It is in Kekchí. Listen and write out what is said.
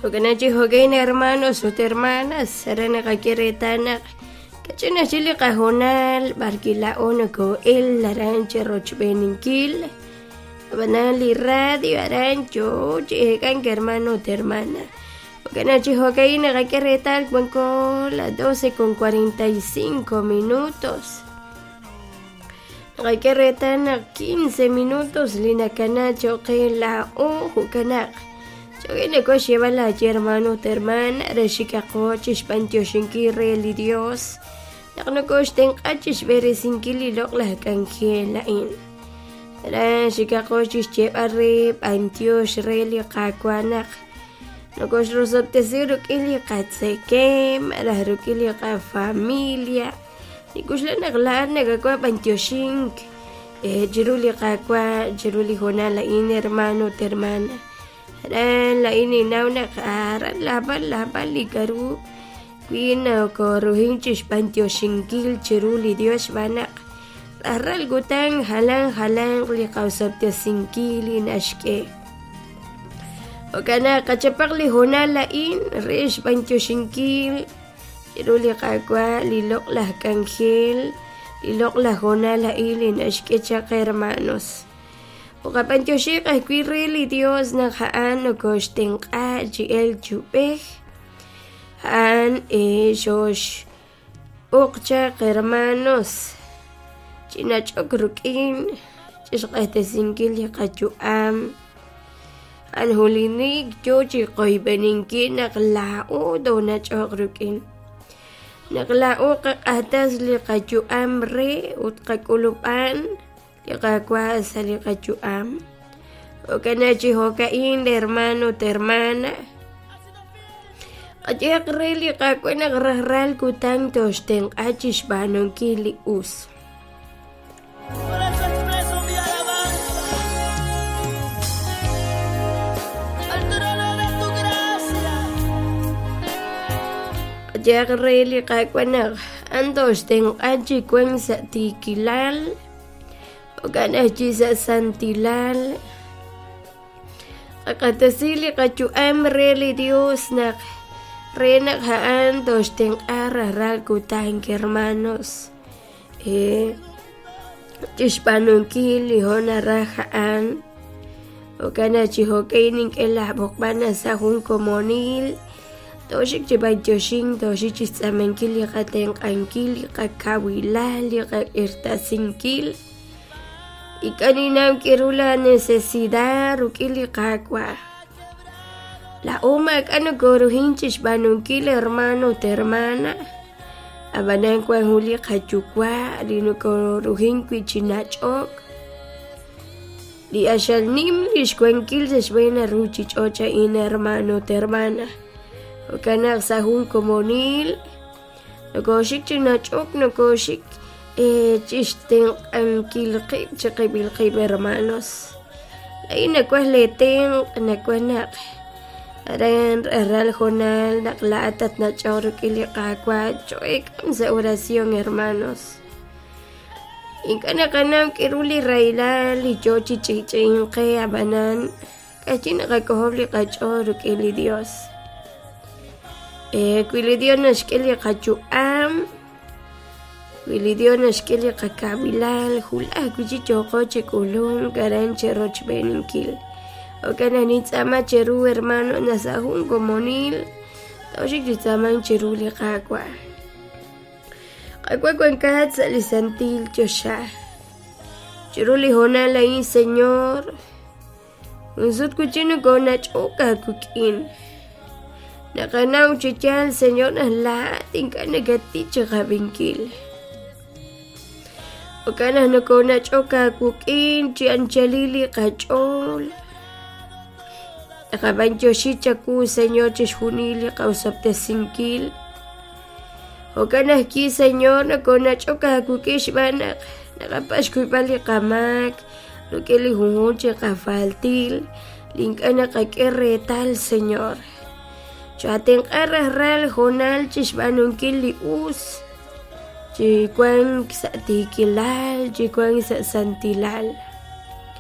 Jo'kan chi jo'kan hermanos ut hermanas aran naqak'e reetal naq kach'in aj chik li qahoonal b'ar kila'o noko'el aran cherochb'eeninkil ab'anan li radio aran yoo chi eek'ank hermano ut hermana. Jo'kan chi jo'kan naqak'e reetal wanko las 12:45 minutos. Naqak'e reetal naq 15 minutos li nakana cho'q qe laa'o jo'kanaq. Cho'qe nako xyeeb'al laaye hermano ut hermana re xikaqo chixb'antioxinkil re li Dios naq nokoxtenq'a chixb'eresinkil li loq'laj k'anjel a'in. Aran xikaqo chixyeeb'al re b'antiox re li Qaawa' naq nokoxrosob'tesi rik'in li qatzekem malaj rik'in li qafamilia. Nik'uxla naq laa'at nakawaj b'antioxink chiru li Qaawa' chiru li hoonal a'in hermano ut hermana. Aran laa'in ninnaw naq aran laab'al laab'al li k'a'ru wi nokoruhin chixb'antioxinkil chiru li Dios xb'aan naq rajlal kutan jalan jalanq li qaosob'tesinkil li naxk'e. Jo'kan naq qachapaq li hoonal a'in re xb'antioxinkil chiru li Qaawa' li loq'laj k'anjel, li loq'laj hoonal a'in li naxk'e chaq hermanos. Uqab'antioxiq ajwi' re li Dios naq a'an nokoxtenq'a chi elk chi ub'ej. A'an xoxb'oq chaq hermanos chi nach'ok rik'in chixq'axtesinkil li qayu'am. A'an julinik yoo chi qoyb'eninkil naq laa'o toonach'oq rik'in. Naq laa'o qaq'axtes li qayu'am re ut qak'ulub'an li Qaawa' sa' li qayu'am. Jo'kan chi jo'ka'in hermano ut hermana. Qayehaq re li Qaawa' naq rajlal kutan tooxtenq'a chixb'aanunkil li us. Por eso expreso mi alabanza al trono de tu gracia. Qayehaq re li Qaawa' naq a'an tooxtenq'a chi wank sa' tiikilal, jo'kan aj chi sa' santilal. Qaq'axtesi li qayu'am re li Dios naq re naq a'an tooxtenq'a rajlal kutan, hermanos. Chixb'aanunkil li jo' naraj a'an. Jo'kan naq chi jo'kan nink'e laab'oqb'al naq sa' jun komonil tooxik chi b'antioxink, tooxik chixtz'aamankil li qatenq'ankil, li qakawilal, li qak'irtasinkil. Ink'a' ninnaw k'aru la necesidad rik'in li Qaawa'. Laa'o maak'a' nokoruhin chixb'aanunkil hermano ut hermana. Ab'anan wank jun li qayuwa' li nokoruhin wi' chi nach'ok. Li q'axal nim li xwankil sa' xb'een li ruuchich'och' a'in hermano ut hermana. Jo'kan naq sa' jun komonil nokoxik chi nach'ok, nokoxik chixtenq'ankil qib' chiqib'il qib' hermanos. Laa'in nawaj leetenq', nawaj naq aran rajlal hoonal naq laa'at tatnach'oq rik'in li Qaawa' cho'eek'am sa' oración hermanos. Ink'a' naqanaw k'aru li rahilal li yoo chi ch'i'ch'i'ink qe ab'anan k'achi naqak'ojob' li qach'ool rik'in li Dios. Wi li Dios naxk'e li qayu'am, wi li Dios naxk'e li qakawilal, wulaj wi' chik yooqo chi k'ulunk aran cherochb'eeninkil. Jo'kan naq nintz'aama cheru hermano naq sa' jun komonil tooxik chi tz'aamank chiru li Qaawa'. Qaawa' wankat sa' li santil choxa. Chiru li hoonal a'in, Señor, jun sut wi' chik nokoonach'ok aawik'in. Naqanaw chi yaal, Señor, naq laa'at ink'a' nakattik chiqab'inkil. Jo'kan naq nokoonach'ok aawik'in chi anchalil li qach'ool. Naqab'antioxi chawu, Señor, chixjunil li qaosob'tesinkil. Jo'kan ajwi', Señor, nokoonach'ok aawik'in xb'aan naq naqapatz' xkuyb'al li qamaak rik'in li junjunq chi qafaltil li ink'a' naqak'e reetal, Señor. Chaatenq'a rajlal hoonal chixb'aanunkil li us, chi wank sa' tiikilal, chi wank sa' santilal.